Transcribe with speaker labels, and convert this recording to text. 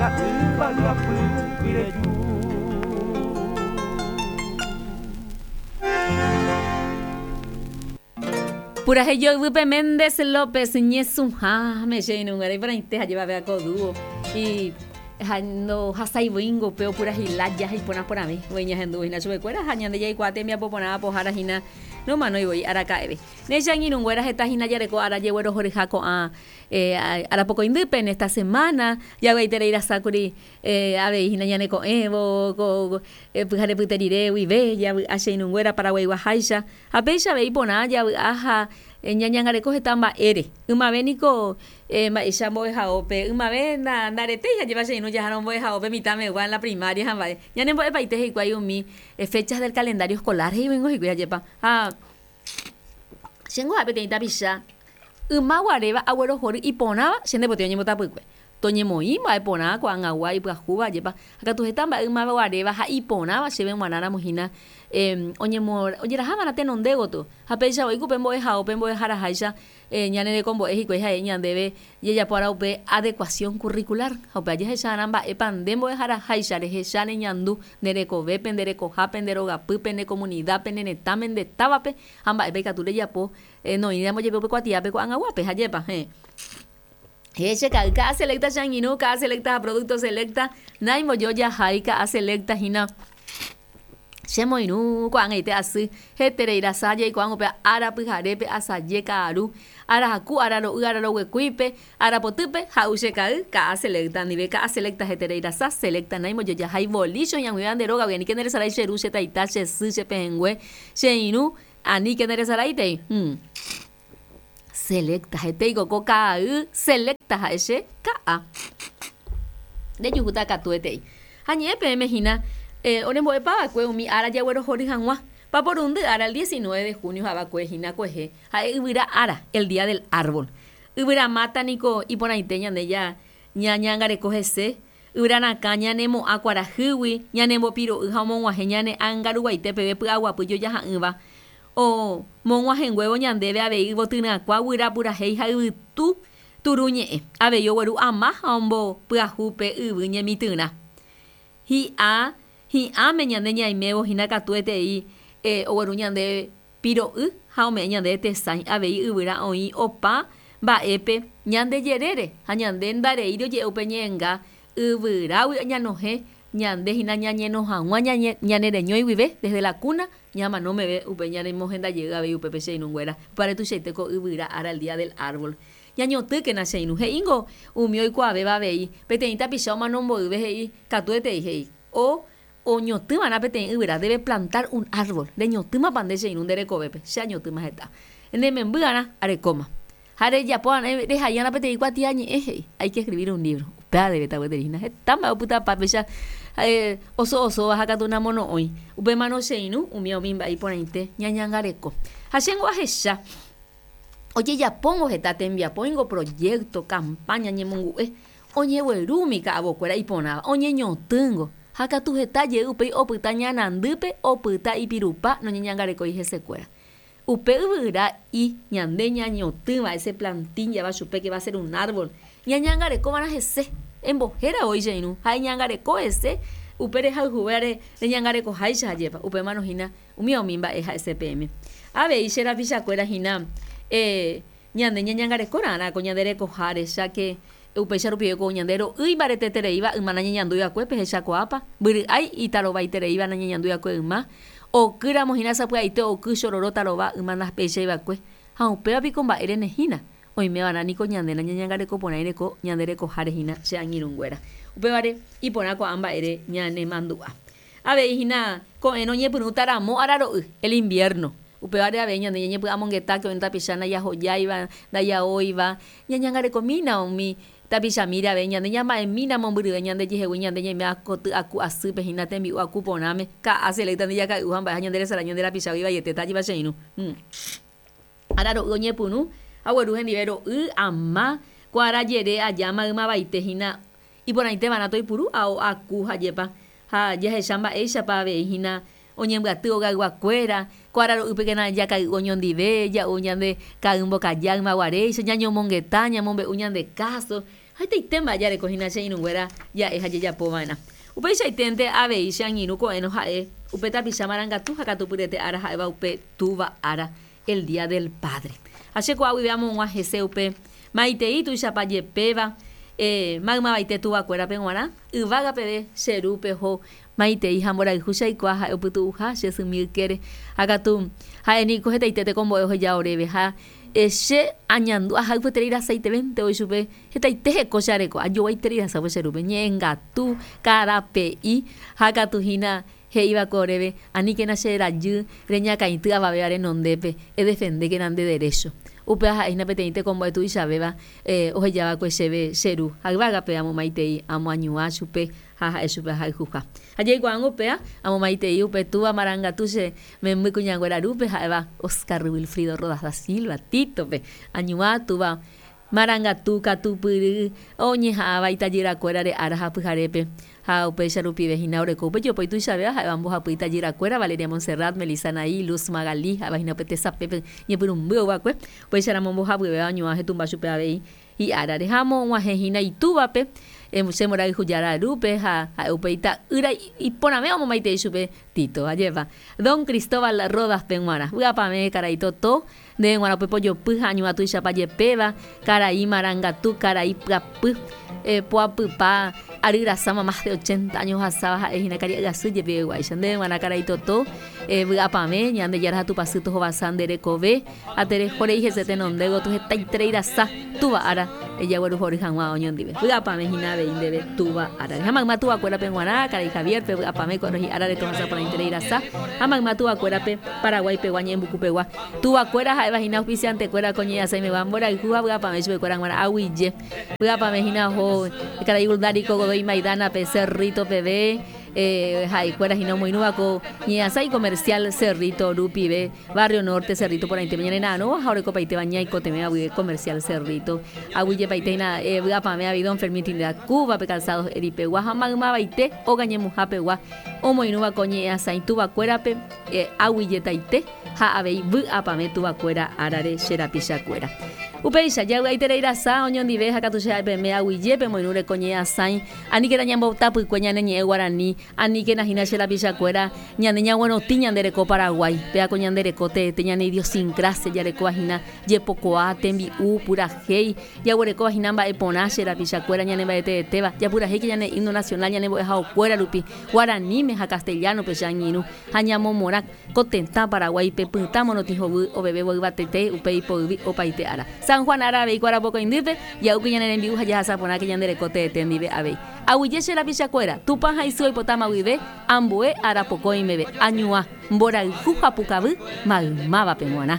Speaker 1: ha yvága apýgui reju.
Speaker 2: Purahéi joyvýpe Méndez López ñesũháme che irũnguéra iporãite ha jevave ko dúo y ha ndohasái voíngo upe opurahéi lája ha iporã porãve voi ñahendu hína chupekuéra ha ñande jaikuaa tembiapo porã apohára hína nomanói voi araka'eve. Ne che angirũnguéra heta hína jareko ára jeguerohoryha ko'ã arapokõindýpe en esta semana javy'aiterei rasa kuri Avei hína ñaneko'ẽvo ko pyharepyte rire guive javy'a che irũnguéra Paraguaiguaháicha, ha péicha avei porã javy'a ha ñañangareko heta mba'ére. Ymave niko mba'éicha mbo'ehaópe, ymave ndaretéi ha jeva che irũ jahárõ mbo'ehaópe mitãmegua en la primaria ha mba'e. Ñanembo'epaite hikuái umi fechas del calendario escolar he'ívoingo hikuái ajépa. Ha chéngo ha'e peteĩ tapicha yma guaréva aguerohory iporãva che ndepotĩ oñembotapykue. Toñemoĩ mba'e porã ko'ag̃agua ipyahúva ajépa, ha katu heta mba'e ymaguaréva ha iporãva chéve g̃uarã ramo hína ojeraha va'erã tenonde gotyo. Ha péicha voi ku pe mbo'ehao pe mbo'eharaháicha ñane rekombo'e hikuái ha'e ñandéve jajapo ára upe adecuación curricular. Ha upéva jahecha va'erã mba'épa nde mbo'eharaháicha rehecha reñandu nde rekovépe, nde rekohápe, nde rogapýpe, nde comunidápe, ne retãme, nde távape ha mba'épa ikatu rejapo noĩramo jepe upe kuatiápe ko'ag̃aguápe. Ajépa? Héẽ. He che ka'y ka'a selecta che angirũ ka'a selecta ha producto selecta naimbojoja hái ka'a selecta hína che moirũ ko'ag̃aite asy heterei rasa jaikuaa upe ára pyharépe asaje ka'aru ára haku ára ro'y ára roguekuípe ára potýpe ha'u che ka'y ka'a selecta ndive ka'a selecta heterei rasa selecta naimbojoja hái volicho hi'ag̃uivéva nde rógagui aníke nderesarái che ru che taita che sy che pehẽngue che irũ aníke nderesaráitei. Selecta hetéiko ko ka'ay selecta ha'e che ka'a. Rejuhúta katuetei. Ha ñe'ẽ peẽme hína orembo'epa va'ekue umi ára jaguerohory hag̃ua. Paporundy ára el 19 de junio havakue hína kuehe ha'e yvyra ára, el día del árbol. Yvyra máta niko iporãite ñande ñañangareko hese, yvyra rakã ñanemo'ã kuarahýgui, ñanembopiro'y ha omog̃uahẽ ñane ánga ruguaite peve py'aguapy jojaha'ỹva. O mog̃uahẽnguévo ñandéve avei yvotyryakua guyra purahéi ha yvytu turu ñe'ẽ, avei ogueru ama ha ombopyahu pe yvy ñemitỹrã. Hi'a hi'ãme ñande ñaimévo hína katuetei ogueru ñande piro'y ha ome'ẽ ñandéve tesãi, avei yvyra oĩ opa mba'épe ñande jerére ha ñande ndareíri oje'e upe ñe'ẽnga yvyrágui ñanohẽ Ñande hína ñañeno hag̃ua ñane reñói guive, desde la cuna, ñamano meve upe ñanemohenda jey avei upépe che irũnguéra. Upévare tuichaite ko yvyra ára el día del árbol. Ñañotỹkena che irũ. He'íngo umi oikuaavéva avei, peteĩ tapicha omano mboyve he'i, katuetei he'i, o oñotỹva'erã peteĩ yvyra, debe plantar un árbol. Reñotỹmapa nde che irũ nde rekovépe? Che añotỹma heta. Ne memby'arã arekóma. Ha rejapo va'erã rehai'arã peteĩ kuatiañe'ẽ he'i, Hay que escribir un libro. Upéva devéta gueteri hína. Heta mba'e opytapa péicha oso osóva ha katu namono'õi. Upémarõ che irũ umi umi mba'e iporãite ñañangareko. Ha chéngo ahecha ojejapóngo heta tembiapo, oĩngo proyecto, campaña, ñemongu'e, oñegueru umi ka'avokuéra iporãva, oñeñotỹngo. Ha katu heta jey upéi opyta ñanandýpe, opyta ipirupa noñeñangarekói hesekuéra. Upe yvyra i ñande ñañotỹva, ese plantín java chupe que va a ser un árbol, ñañangareko va'erã hese, embohéra voi che irũ ha eñangareko hese upe rehayhuvévare reñangarekoháicha ajépa, upémarõ hína umi umi mba'e ha'ese peẽme. Avei che rapichakuéra hína ñande ñañangareko ra'arã ko ñande rekoha recha que upéicha rupive ko ñande ro'y imbaretetereíva yma nañañandúi va'ekue pehechakuaápa, mbyry'ái itarovaitereíva nañañandúi va'ekue yma, Oky ramo hína sapy'aite oky chororo tarova yma ndapéichai va'ekue, ha upéva piko mba'ére ne hína? Oime va'erã niko ñande nañañangareko porãi reko ñande rekoháre hína che angirũnguéra. Upévare, iporã ko'ã mba'ére ñanemandu'a. Avei hína ko'ẽrõ oñepyrũta ramo araro'y, el invierno. Upévare avei ñande ñañepy'amongeta ke oĩ tapicha ndajahojáiva, ndajaóiva, ñañangarekomína umi Tapichamíre avei ñande ñama'ẽmína mombyryve ñande jehegui ñande ñaime koty aku asýpe hína tembi'u aku porãme, ka'a selecta nde jakay'u ha mba'e ha ñande resarái ñande rapichágui vaietéta ajipa che irũ. Ára ro'y oñepyrũ ha ogueru hendive ro'y, ama, ko ára jere aja maymavaite hína iporãite va'erã toipuru ao aku ha jepa ha jahecha mba'éichapa avei hína Oñembyaty ogayguakuéra, ko ára ro'ýpekena jakay'u oñondive, ja'u ñande ka'y mbokaja ymaguaréicha, ñañomongeta, ñamombe'u ñande káso. Ha hetaite mba'e jareko hína che irũnguéra ja'e ha jajapo va'erã. Upeichaiténte avei che angirũ ko'ẽrõ ha'e upe tapicha marangatu ha katupyryete ára ha'éva upe Túva ára, el Día del Padre. Ha che ko'a guive amog̃ua hese upe maitei tuichapa jepéva maymavaite tuvakuérape g̃uarã, yvága peve che ru peho maitei ha mborayhu che aikuaa ha'e opytu'uha che symi ykére. Ha katu ha'e niko hetaite tekombo'e oheja oréve ha che añandu ahayhueterei rasaitevénte voi chupe hetaite heko che areko, ajoguaiterei rasa upe che rúpe, ñe'ẽngatu, karape'i ha katu hína He'íva'ekue oréve, Aníkena che rajy reñakãity avavéva renondépe, edefendékena nde derécho. Upéva ha'e hína peteĩ tekombo'e tuichavéva ohejava'ekue chéve che ru, ha yvágape amomaitei amoañuã chupe ha ha'e chupe ahayhuha. Ha jaikuaángo upéva, amomaitei upe túva marangatu che memby kuñanguéra rúpe ha'éva Oscar Wilfrido Rodas da Silva, Tito-pe, añuã túva Marangatu katupyry oñeha'ãva itajyrakuérare ára ha pyharépe, ha upéicha rupive hína oreko upe jopói tuichavéva ha'éva mbohapy itajyrakuéra, Valeria Monserrat, Melissa Anaí, Luz Magalí, ha'éva hína upe tesapépe ñepyrũmby ouva'ekue, upéicharamo mbohapyvéva oñuã hetumba chupe avei hi'árare. Ha omog̃uahẽ hína itúvape, che mborayhujára rúpe, ha ha'e upe ita'ýra iporãvéva omomaitei chupe Tito, ajépa. Don Cristóbal Rodas-pe g̃uarã. Vy'apavẽ karai Totó, Ndéve g̃uarã upe pojopy ha añuã tuichapa jepéva, karai marangatu, karai pyapy, poapypa ary rasáma más de ochenta años ohasáva ha'e hína karia'y asy jepiveguáicha. Ndéve g̃uarã karai Totó, vy'apavẽ, Ñandejára ha Tupãsy tohovasa nde rekove ha tereho rei hese tenonde gotyo hetaiterei rasa Túva ára ejagueruhory hag̃ua oñondive. Vy'apavẽ hína avei ndéve Túva árare. Ha mayma tuvakuérape g̃uarã, karai Javier-pe vy'apavẽ ko'ẽrõ hi'árare tohasa porãiterei rasa ha mayma tuvakuérape Paraguái pegua ñe'ẽmbuku pegua. Tuvakuéra ha'éva hína auspiciante-kuéra ko ñe'ẽasãimegua mborayhu ha vy'apavẽ chupekuéra g̃uarã aguije. Vy'apavẽ hína oho karai Uldarico Godoy Maidana-pe Cerrito peve, ha'ekuéra hína omoirũva ko ñe'ẽasãi comercial Cerrito rupive, Barrio Norte, Cerrito porãitépe ñane ra'arõva ha orekopaitéva ñaikotevẽva guive comercial Cerrito. Aguijepaite hína vy'apavẽ avei don Fermín Trinidad Cuba-pe Calzados Eri-pegua ha maymavaite óga ñemuha-pegua omoirũva ko ñe'ẽasãi tuvakuérape aguijetaite ha avei vy'apavẽ tuvakuéra árare che rapichakuéra. Upéicha, javy'aiterei rasa oñondive ha katu che ha'e peme aguije pemoirũre ko ñe'ẽasãi, aníkena ñambotapykue ñane ñe'ẽ guarani, aníkena hína che rapichakuéra ñande ñaguerotĩ ñande reko Paraguái, péva ko ñande reko teete ñane idiosincrasia jarekóva hína jepokuaa, tembi'u, purahéi, Jaguerekóva hína mba'e porã che rapichakuéra ñane mba'eteetéva, japurahéike ñane himno nacional ñane mbo'ehaokuéra rupi, guaraníme ha castellano-pe che angirũ, ha ñamomorã ko tetã Paraguáipe pytã morotĩ hovy ovevévo yvatete upe ipoyvi opaite ára. San Juan ára avei ko arapokõindýpe, ja'úke ñane rembi'u ha jahasa porãke ñande reko teete ndive avei. Aguyje che rapichakuéra, Tupã ha isy oipotáma guive ambue arapokõi meve, añuã, mborayhu ha pukavy maymávape g̃uarã.